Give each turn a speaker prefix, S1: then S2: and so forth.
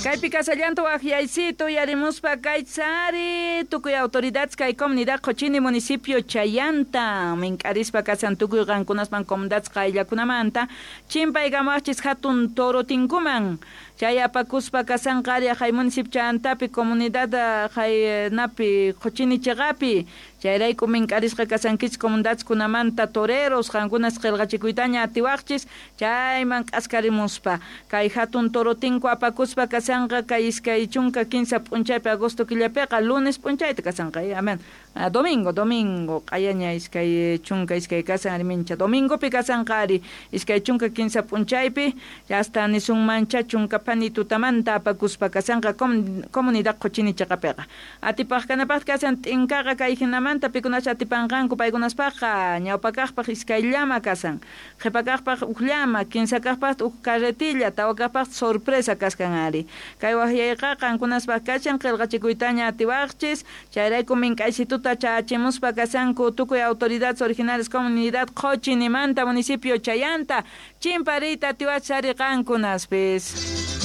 S1: Kaypi kasallanta waqyaysito yarimuspa kaytsari tukuy autoridades kay comunidad Qochini municipio Chayanta mink'arispa kasan tukuy qankunasman comunidades qayllakunamanta chimpaykamuwaqchis hatun torotinkuman chay apakuspa kasanqa ari hay municipio Chayantapi comunidad haynapi Qochini cheqapi chayrayku mink'arisqa kasankichis comunidadeskunamanta toreros qankunas qillqachikuytaña atiwaqchis chayman k'askarimuspa kay hatun torotinku apakuspa kasanqa kay 23 p'unchaypi agosto killapiqa lunes p'unchayta kasanqa amen domingo domingo q'ayaña 22 kasan ari mincha domingopi kasanqa ari 23 p'unchaypi hasta nisunmancha chunka phani tutamanta apakuspa kasanqa comunidad Qochini cheqapiqa atipaq kanapaq kasan t'inkaqa kay hinamanta pikunacha atipanqanku paykunaspaqqa ñawpakaqpaq iskay llama kasan qhipakaqpaq uj llama kinsakaqpaq uj carretilla tawakaqpaq sorpresa kaskan ari kay waqyayqa qankunaspaq kachan qillqachikuytaña atiwaqchis chayrayku mink'aysituta chachimuspa kasanku tukuy autoridades originales comunidad Qochinimanta municipio Chayanta chimpariyta atiwachis ari qankunaspis.